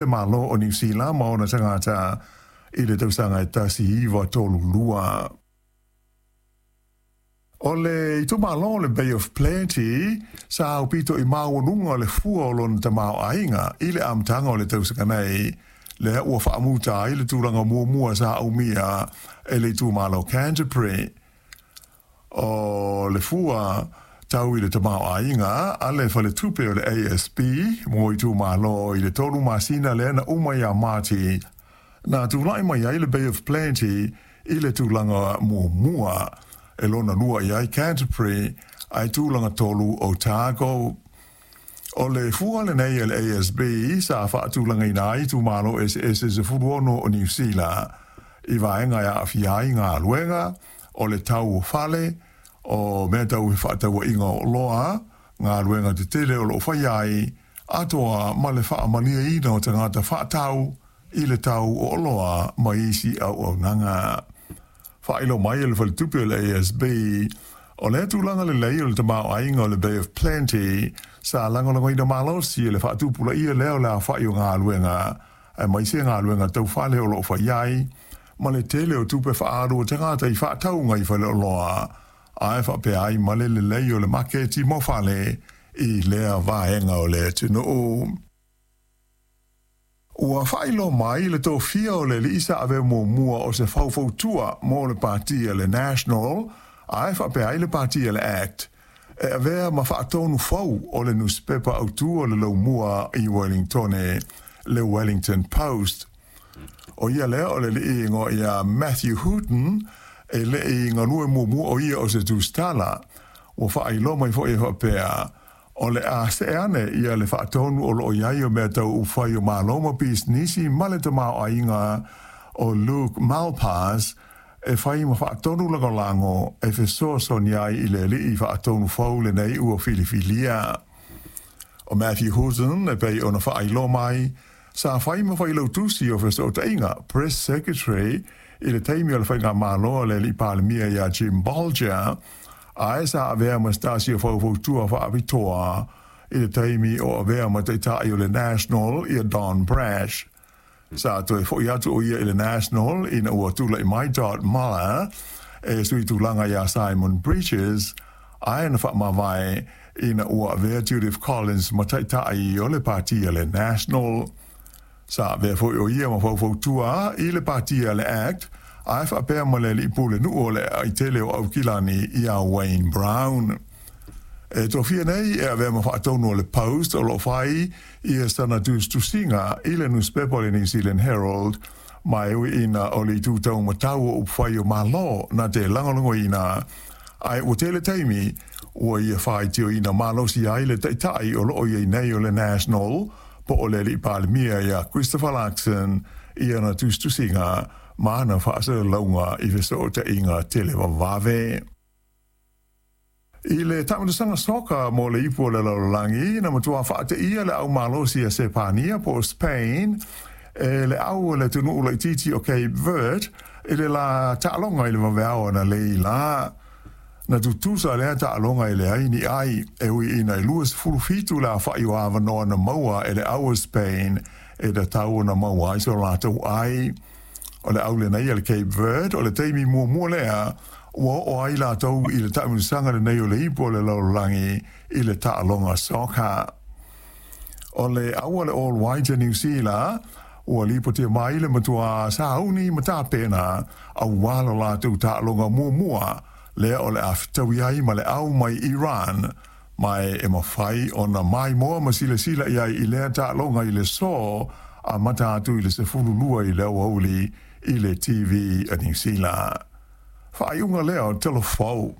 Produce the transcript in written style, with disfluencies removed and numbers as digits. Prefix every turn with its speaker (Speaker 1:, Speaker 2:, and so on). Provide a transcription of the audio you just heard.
Speaker 1: Le Malo o Niu Sila ma ona tagata i le tausaga e 1932. O le itumalo o le Bay of Plenty sa aupito i maualuga le fua o lona tamaoaiga i le amataga o le tausaga nei, lea ua faamuta ai le tulaga muamua sa aumia e le itumalo Canterbury. O le fua tau i le tamaoaiga a le faletupe o le ASB mo itumalo i le 3 masina lea na uma ia Mati, na tulai mai ai le Bay of Plenty i le tulaga muamua, e lona lua i ai Canterbury, ae tulaga tolu Otago. O le fua lenei a le ASB sa faatulagaina ai itumalo eseese 16 o Niu Sila i vaega e aafia ai galuega, o le tau o fale, o mea tau fefaatauaiga o oloa, galuega tetele o lo o faia ai, atoa ma le faamalieina o tagata faatau i le tau o oloa ma isi auaunaga. Faailoa mai e le faletupe o le ASB, o lea tulaga lelei o le tamaoaiga o le Bay of Plenty sa lagolagoina malosi e le faatupulaia lea o le aofai o galuega, aemaise galuega tau fale o lo o fai ai, ma le tele o tupe faaalu a tagata i faatauga i faleoloa, ae faapea ai ma le lelei o le maketi mo fale i lea vaega o le atunuu. Ua faailoa mai le tofia o le alii sa avea muamua o se faufautua mo le pati a le National, ae faapea ai le pati a le Act, e avea ma faatonu fou o le nusipepa autū o le laumua i Wellingtone, le Wellington Post. O ia lea o le alii igoa ia Matthew Hooton, e le i galue muamua o ia o se tusitala. Ua faailoa mai foi e faapea, o le a see ane ia le faatonu o lo o i ai o mea tau upufai o Malo ma pisinisi ma le tamaoaiga o Luke Malpass e fai ma faatonu lagolago e fesoasoani ai i le alii faatonu fou lenei ua filifilia. O Matthew Hooton e pei ona faailoa mai, sa fai ma failautusi o fesootaiga, Press Secretary, i le taimi o le faigamalo a le alii Palemia ia Jim Bolger, ae sa avea ma se tasi o faufautua faapitoa i le taimi o avea ma taitai o le National ia Don Brash. Sa toe foi atu o ia i le National ina ua tulai mai Todd Muller e sui tulaga iā Simon Bridges, ae na faamavae ina ua avea Judith Collins ma taitai o le pati a le National. Sa avea foi o ia ma faufautua i le pati a le Act, ae faapea ma le alii pulenuu o le aitele o Aukilani ia Wayne Brown. E tofia nei e avea ma faatonu o le Post o lo o fai ia sana tusitusiga i le nusipepa o le New Zealand Herald, ma e ui ina o le itu taumatau o upufai o Malo na te lagolagoina, ae ua tele taimi ua ia faitioina malosi ai le taitai o lo o i ai nei o le National, po o le alii Palemia ia Christopher Luxon, i ana tusitusiga ma ana faasalalauga i fesootaiga televavave. I le taamilosaga soka mo le ipu o le lalolagi, na matua faateia le au malosi a Sepania po o Spain e le au o le atunuu laitiiti o Cape Verde i le la taaloga i le vaveao analeila la. Na tutusa lea taaloga e leai ni ai, e ui ina e 27 le aofai o avanoa na maua e le au o Spain e tatau ona maua ai so latou ai. O le au lenei a le Cape Verde o le taimi muamua lea ua oo ai latou i le taamilosaga lenei o le ipu o le lalolagi i le taaloga soccer. O le au a le All Whites a Niu Sila ua lipotia mai le matua sauni ma tapena aua lo latou taaloga muamua lea o le a fetaui ai ma le au mai Iran, ma e mafai ona maimoa ma silasila i ai i lea taaloga i le so amata atu i le 12 i le aoauli i le TV a Niu Sila. Faaiuga lea o Telefou.